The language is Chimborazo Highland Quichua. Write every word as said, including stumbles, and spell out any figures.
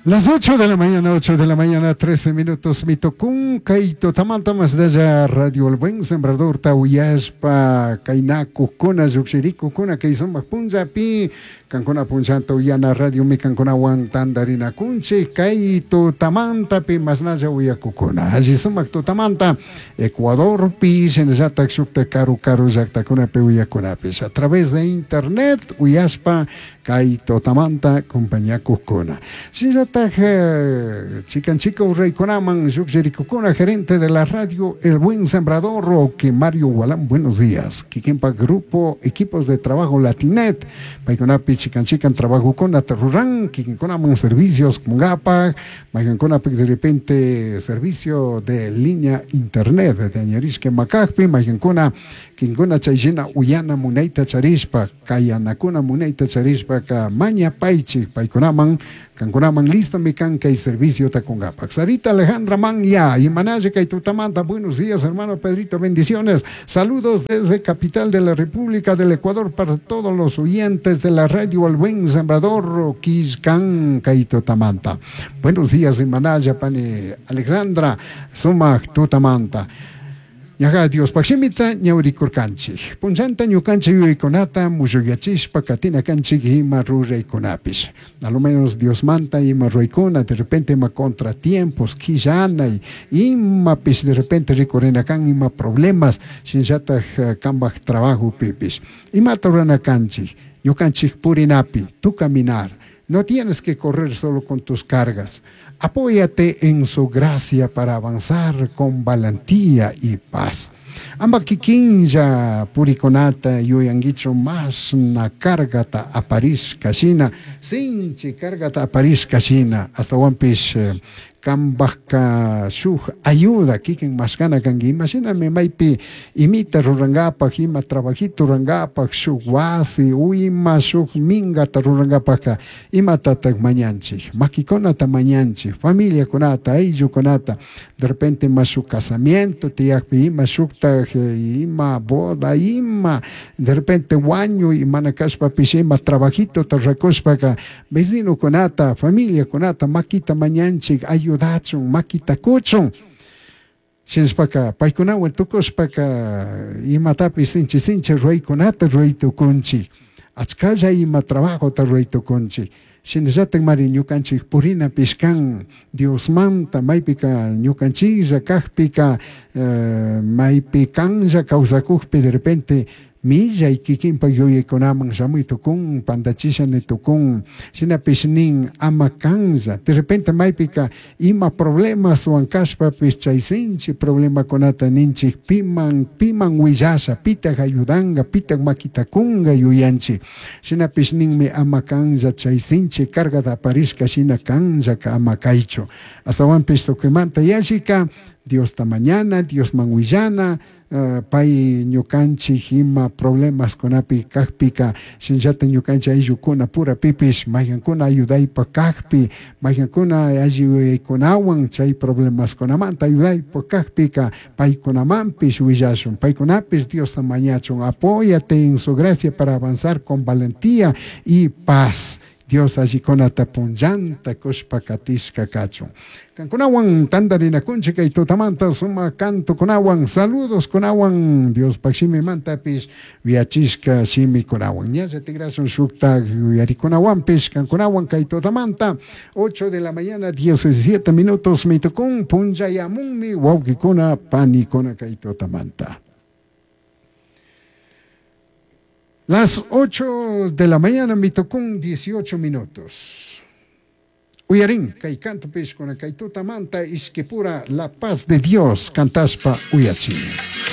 Las ocho de la mañana, ocho de la mañana, trece minutos, mitokun, kay tutamanta masdalla Radio El Buen Sembrador, tauyashpa, kaynakukuna, llukshirikukuna, kay sumak punllapi, kankuna punllanta uyana radio mi kankunawan tandarinakunchik, kay tutamantapi masnalla uyakukuna. Alli sumak tutamanta, Ecuadorpi, shinallatak shukta karu karu llaktakunapi uyakunapish. A través de internet uyashpa, kay tutamanta compañakukuna. Shinallatak chikan chika urraykunaman llukshirikukuna, gerente de la radio El Buen Sembrador, que Mario Gualán, buenos días. Kikinpa grupo, equipos de trabajo Latinet, paykunapi chikan chikan trabajo con aterruran, kikinkunaman servicios con gapa, maykankunapi de repente servicio de línea internet, de Añarishke Macajpi, maykankuna, kinkuna chayshina uyana munayta charishpa, kayanakuna munayta charishpa, ka maña paychik, paykunaman, kankunaman listo mi kan kay servicio takungapak. Sarita Alejandra Manya y Manaye Kaitutamanta, buenos días hermano Pedrito, bendiciones. Saludos desde capital de la República del Ecuador para todos los oyentes de la radio El Buen Sembrador, Quiscan Kaitutamanta. Buenos días Manaya Pani Alejandra Sumak Tutamanta. Ñaja Dios pakshimita ñawrikurkanchik. Punchanta ñukanchik yuyaykunata mushuyachishpa katina kanchik ima ruraykunapish. A lo menos Dios manta ima ruraykuna, de repente ima contratiempos, quillanay, imapish de repente rikurina kan ima problemas, shinllataj kambaj trabajo pipish. Imata rurana kanchik, ñukanchik purinapi, tu caminar. No tienes que correr solo con tus cargas. Apóyate en su gracia para avanzar con valentía y paz. Amba kikinlla purikonata yuyanguicho más na cargata aparis kashina, sinchi cargata aparis kashina, hasta wampish kambajka shuj ayuda kikin mashkana kanki. Imagíname maypi imita rurangapaj, ima trabajito rurangapaj, shuj wasi, ima shuj mingata rurangapajka, imatatak mañanchik, makikunata mañanchik, familiakunata, ayllukunata, de repente ima shuj casamiento tiyakpi, ima shuktaj, ima boda, ima de repente wañu, imana kashpapish ima trabajito rurakushpaka, vecinokunata, familiakunata, makita mañanchik, ayuda dachun, makita kuchun. Shinshpaka, paykunawan tukushpaka, imatapi sinchi sinchi ruraykunata ruraytukunchik. Achkalla ima trabajota ruraytukunchik. Shinallatak mari ñukanchik purinapish kan Diosmanta, maypika ñukanchiklla kajpika, eh, maypi kanlla kawsakukpi de repente millay kikinpak yuyaykunaman shamuy tukun, pandachisha ni tukun, shinapish nin ama kanlla. De repente maypika ima problemas wan kashpapish chay sinchi problemakunata ninchik piman, piman willasha, pitak ayudanga, pitak makitakunga yuyanchik. Shinapish ninmi ama kanlla chay sinchi cargata aparishka shina kanllaka ama kaychu. Astawanpish tukuymanta yallika Diosta mañana, Diosman willana, uh, pay ñukanchik ima problemas kunapi kajpika, shinllata ñukanchik ayllukuna pura pipish, maykankuna ayudaypa kajpi, maykankuna ayudaykunawan chay problemas kunamanta ayudaypa kajpika, paykunamanpish willashun, paykunapish Diosta mañachun, apóyate en su gracia para avanzar con valentía y paz. Dios allikunata punllanta kushpa katishka kachun. Kankunawan tandarinakunchik kay tutamanta suma canto kunawan, saludos kunawan, Dios pakshimimantapis wiachishka shimikunawan. Ñalla tigrasun shukta yuyarikunawanpish kankunawan kay tutamanta, ocho de la mañana, diecisiete minutos, mitukun punllayamunmi wawqikuna panikuna kay tutamanta. Las ocho de la mañana, mitocún, dieciocho minutos. Uyarín, kay canto pishkuna, kay tutamanta, ishkipura, la paz de Dios, cantaspa uyachini.